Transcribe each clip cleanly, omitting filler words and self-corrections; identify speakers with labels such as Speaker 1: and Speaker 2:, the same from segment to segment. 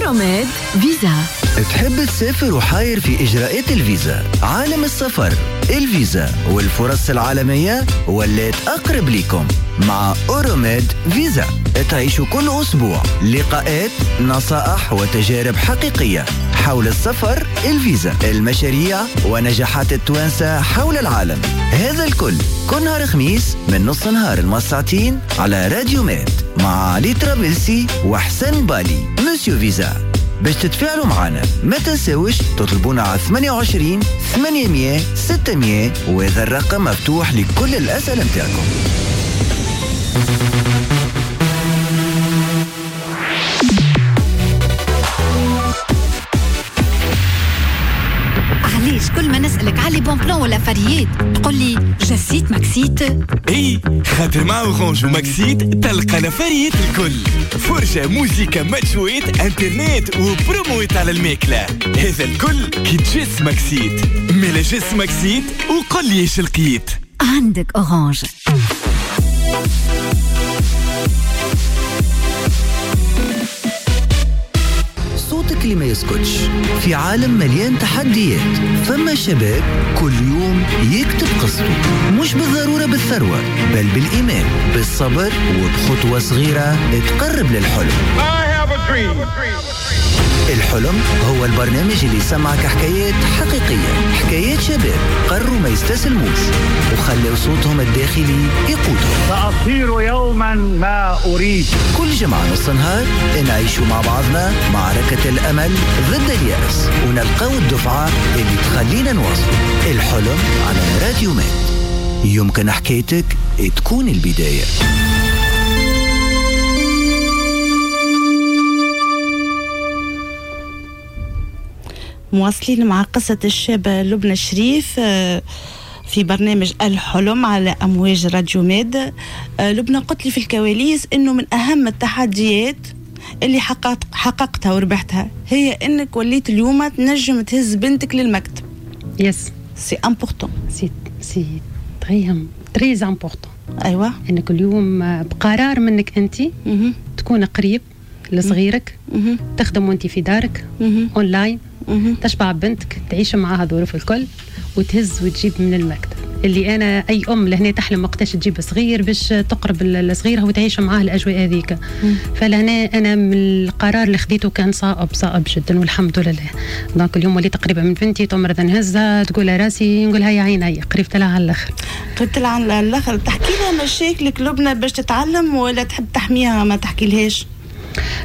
Speaker 1: Euromed Visa.
Speaker 2: تحب تسافر وحاير في إجراءات الفيزا؟ عالم السفر، الفيزا والفرص العالمية ولات أقرب لكم مع Euromed Visa. تعيشوا كل أسبوع لقاءات، نصائح وتجارب حقيقية حول السفر، الفيزا، المشاريع ونجاحات التوانسة حول العالم. هذا الكل كل نهار خميس من نص نهار المساعتين على راديو ميد مع علي ترابلسي وحسن بالي Monsieur Visa. باش تتفاعلوا معنا ما تنساوش تطلبونا على 28 800 600، وهذا الرقم مفتوح لكل الأسئلة متاعكم.
Speaker 1: علاش كل ما نسألك على bons plans ولا فريات تقول لي جسيت ماكسيت؟
Speaker 3: اي خاطر مع Orange وماكسيت تلقى الافاريات الكل، فرجة، موزيكا، ماتشويت، انترنت وبرومويت على الماكلة. هذا الكل كي تجس ماكسيت. ملا جس ماكسيت وقل لي ايش لقيت.
Speaker 1: عندك Orange.
Speaker 2: صوتك اللي ما يسكتش في عالم مليان تحديات. فما شباب كل يوم يكتب قصته، مش بالضرورة بالثروة، بل بالإيمان، بالصبر، وبخطوة صغيرة تقرب للحلم. الحلم هو البرنامج اللي يسمعك حكايات حقيقية، حكايات شباب قرروا ما يستسلموش وخلوا صوتهم الداخلي يقودهم.
Speaker 4: سأصير يوما ما أريد.
Speaker 2: كل جمعة نص نهار نعيشوا مع بعضنا معركة الأمل ضد اليأس، ونلقاو الدفعة اللي تخلينا نواصل. الحلم على راديو ميد، يمكن حكايتك تكون البداية.
Speaker 5: مواصلين مع قصة الشابة لبنى الشريف في برنامج الحلم على أمواج راديو ميد. لبنى قلت لي في الكواليس إنه من أهم التحديات اللي حققتها وربحتها هي إنك وليت اليوم تنجم تهز بنتك للمكتب.
Speaker 6: yes
Speaker 5: c'est important،
Speaker 6: c'est très très important.
Speaker 5: أيوة،
Speaker 6: إنك اليوم بقرار منك أنت تكون قريب لصغيرك، تخدم وانت في دارك اونلاين، تشبع بنتك، تعيش معاها ظروف الكل، وتهز وتجيب من المكتب. اللي انا اي ام لهنا تحلم وقتاش تجيب صغير باش تقرب لصغيرها وتعيش معاه الاجواء هذيك. فلهنا انا من القرار اللي خديته كان صائب صائب جدا والحمد لله. donc اليوم وليت قريبه من بنتي، تمرض نهزها تقول راسي، نقولها يا عيني قريبت لها على الاخر.
Speaker 5: قريبت لها على الاخر. تحكي لها مشاكلك لبنى باش تتعلم ولا تحب تحميها ما تحكي لهاش؟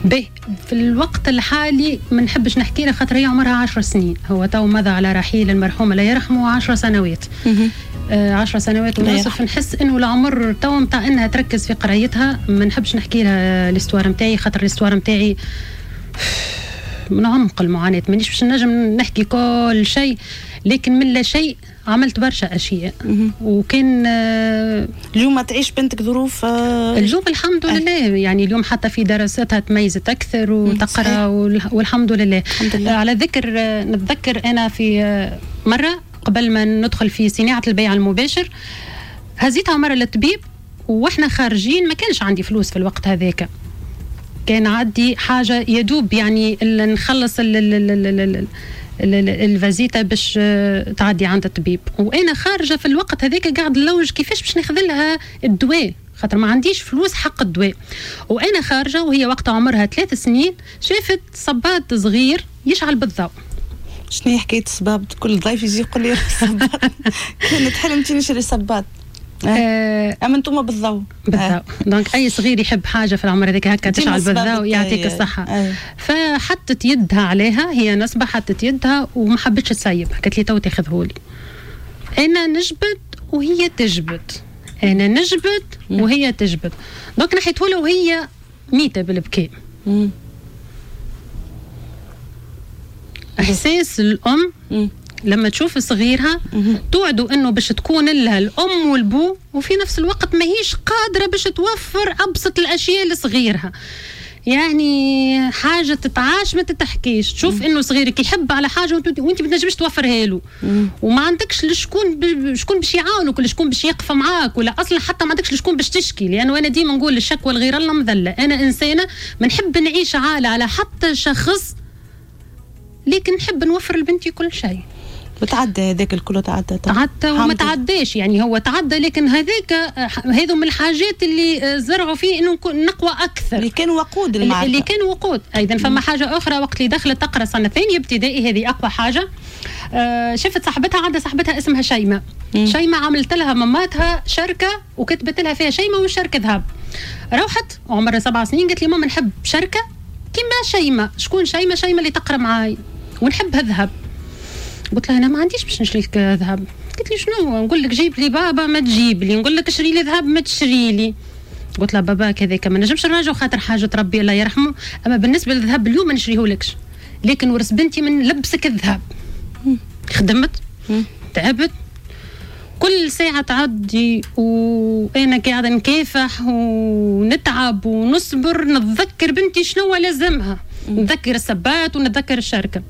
Speaker 6: به في الوقت الحالي ما نحبش نحكي لها خاطر هي عمرها 10 سنين. هو تو مضى على رحيل المرحوم الله يرحمه 10 سنوات. 10 سنوات ونصف. نحس انه العمر تو نتاع انها تركز في قرايتها. ما نحبش نحكي لها l'histoire نتاعي خاطر l'histoire نتاعي من عمق المعاناة، مانيش باش نجم نحكي كل شيء، لكن من لا شيء عملت برشا اشياء. وكان
Speaker 5: اليوم تعيش بنتك ظروف
Speaker 6: اليوم الحمد لله. يعني اليوم حتى في دراستها تميزت اكثر وتقرا والحمد لله. الحمد لله. على ذكر نتذكر انا في مرة قبل ما ندخل في صناعة البيع المباشر هزيتها مرة للطبيب واحنا خارجين، ما كانش عندي فلوس في الوقت هذاك، كان عندي حاجة يدوب يعني نخلص الفازيتا باش تعدي عند الطبيب. وانا خارجه في الوقت هذاك قاعد نلوج كيفاش باش ناخذ لها الدواء خاطر ما عنديش فلوس حق الدواء. وانا خارجه وهي وقتها عمرها 3 سنين شافت صباط صغير يشعل بالضوء.
Speaker 5: شنو هي حكاية الصباط؟ كل ضيف يجي يقول لي صباط. كانت حلمتي نشري صباط. اما انتم بالضوء.
Speaker 6: بالضوء. donc اي صغير يحب حاجة في العمر هذاك هكا تشعل بالضوء يعطيك الصحة. فحطت يدها عليها، هي نصبه حطت يدها وما حبتش تسيب، قالت لي تو تاخذهولي. انا نجبد وهي تجبد، انا نجبد وهي تجبد. donc نحيته وهي ميته بالبكاء. احساس الام لما تشوف صغيرها توعدوا انه باش تكون لها الام والبو، وفي نفس الوقت ماهيش قادرة باش توفر ابسط الاشياء لصغيرها. يعني حاجة تتعاش ما تتحكيش. تشوف انه صغيرك يحب على حاجة وانت ما تنجمش توفرها له، وما عندكش لشكون شكون باش يعاونك ولا شكون باش يقف معاك، ولا اصلا حتى ما عندكش لشكون باش تشكي. لانه انا ديما نقول الشكوى الغير الله مذلة. انا انسانه ما نحب نعيش عالة على حتى شخص، لكن نحب نوفر لبنتي كل شيء.
Speaker 5: وتعدى هذاك الكل،
Speaker 6: تعدى وما تعداش، يعني هو تعدى، لكن هذاك هذو من الحاجات اللي زرعوا فيه انه نقوى اكثر،
Speaker 5: اللي كان وقود المعركة،
Speaker 6: اللي كان وقود. ايضا فما حاجة اخرى وقت اللي دخلت تقرا سنة ثانية ابتدائي، هذه اقوى حاجة. شفت صاحبتها، عندها صاحبتها اسمها شيماء. شيماء عملت لها ماماتها شركة وكتبت لها فيها شيماء والشركة ذهب. روحت عمرها 7 سنين قالت لي ماما نحب شركة كيما شيماء. شكون شيماء؟ شيماء اللي تقرا معاي، ونحبها ذهب. قلت لها انا ما عنديش باش نشري لك ذهب. قالت لي شنو؟ نقول لك جيب لي بابا ما تجيب لي، نقول لك اشري لي ذهب ما تشري لي. قلت لها باباك هذاك ما نجمش نراجعو خاطر حاجة ربي الله يرحمه، اما بالنسبة للذهب اليوم ما نشريهولكش، لكن ورث بنتي من لبسك الذهب. خدمت تعبت كل ساعة تعدي وانا قاعدة نكافح ونتعب ونصبر، نتذكر بنتي شنو لازمها، نتذكر السبات ونتذكر الشركة.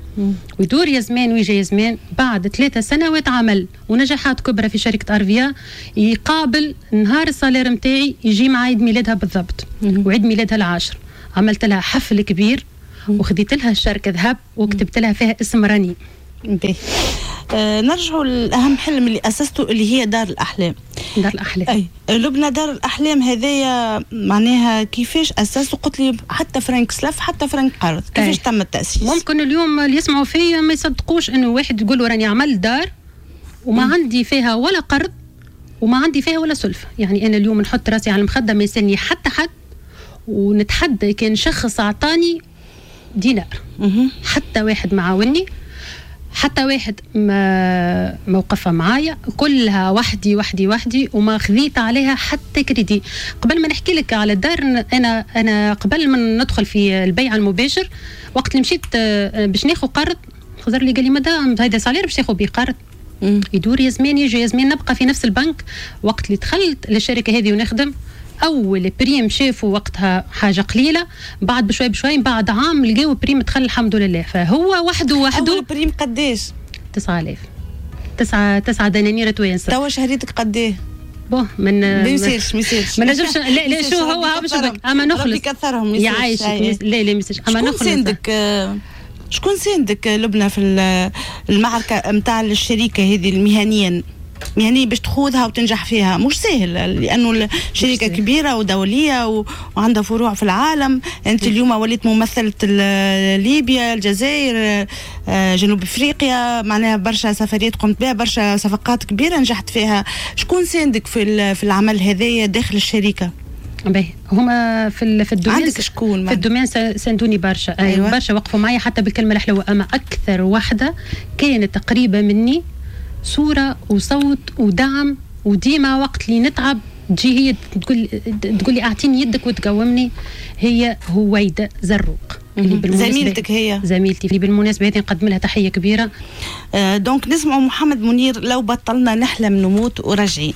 Speaker 6: ويدور يا زمان ويجي يا زمان، بعد 3 سنوات عمل ونجاحات كبرى في شركة ارفيا، يقابل نهار ال salaire نتاعي يجي مع عيد ميلادها بالضبط، وعيد ميلادها العاشر عملت لها حفل كبير وخديت لها الشركة ذهب وكتبت لها فيها اسم راني.
Speaker 5: نرجعوا لأهم حلم اللي أسسته اللي هي دار الأحلام.
Speaker 6: دار الأحلام.
Speaker 5: أي لبنى، دار الأحلام هذايا معناها كيفاش أسسته؟ قلت لي حتى فرنك سلف حتى فرنك قرض، كيفاش تم التأسيس؟
Speaker 6: ممكن اليوم اللي يسمعوا فيا ما يصدقوش إنه واحد يقول له راني عملت دار وما عندي فيها ولا قرض وما عندي فيها ولا سلفة. يعني أنا اليوم نحط راسي على المخدة ما يسألني حتى حد، ونتحدى كان شخص أعطاني دينار، حتى واحد معاوني، حتى واحد ما موقفه معايا، كلها وحدي وحدي وحدي، وما خذيت عليها حتى كريدي. قبل ما نحكي لك على الدار، انا قبل ما ندخل في البيع المباشر، وقت اللي مشيت باش ناخذ قرض، خزر لي قال لي مدام هذا salaire باش تاخذ بيه قرض. يدور يا زمان يجي يا زمان، نبقى في نفس البنك. وقت اللي دخلت للشركة هذه ونخدم، اول prime شافوا وقتها حاجة قليله، بعد بشوي بشوي بعد عام لقاو prime دخل الحمد لله. فهو وحده وحده.
Speaker 5: اول prime قداش؟
Speaker 6: 9000، 9 دنانير توانسة.
Speaker 5: توا شهريتك قداه؟
Speaker 6: bon من
Speaker 5: ما يصيرش ما يصيرش،
Speaker 6: ما نجمش. لا لا شو هو باش اما نخلص
Speaker 5: يكثرهم
Speaker 6: يعيشك. لا لا ما يصيرش اما نخلص.
Speaker 5: شكون ساندك لبنى في المعركة نتاع الشركة هذه المهنيا؟ يعني باش تخوضها وتنجح فيها مش سهل، لانه الشركة كبيرة ودوليه وعندها فروع في العالم. انت اليوم وليت ممثلة ليبيا، الجزائر، جنوب افريقيا، معناها برشا سفريات قمت بها، برشا صفقات كبيرة نجحت فيها. شكون ساندك في العمل هذايا داخل الشركة؟
Speaker 6: باهي، هما في ال domaine
Speaker 5: عندك شكون
Speaker 6: في ال domaine ساندوني برشا. أيوة. برشا وقفوا معي حتى بالكلمة الحلوة. اما اكثر واحدة كانت قريبه مني صورة وصوت ودعم، وديما وقت اللي نتعب تجي هي تقول لي اعطيني يدك وتقومني، هي هويدة زروق.
Speaker 5: زميلتك هي؟
Speaker 6: زميلتي اللي بالمناسبة هذه نقدم لها تحية كبيرة.
Speaker 5: donc نسمعوا محمد منير لو بطلنا نحلم نموت وراجعين.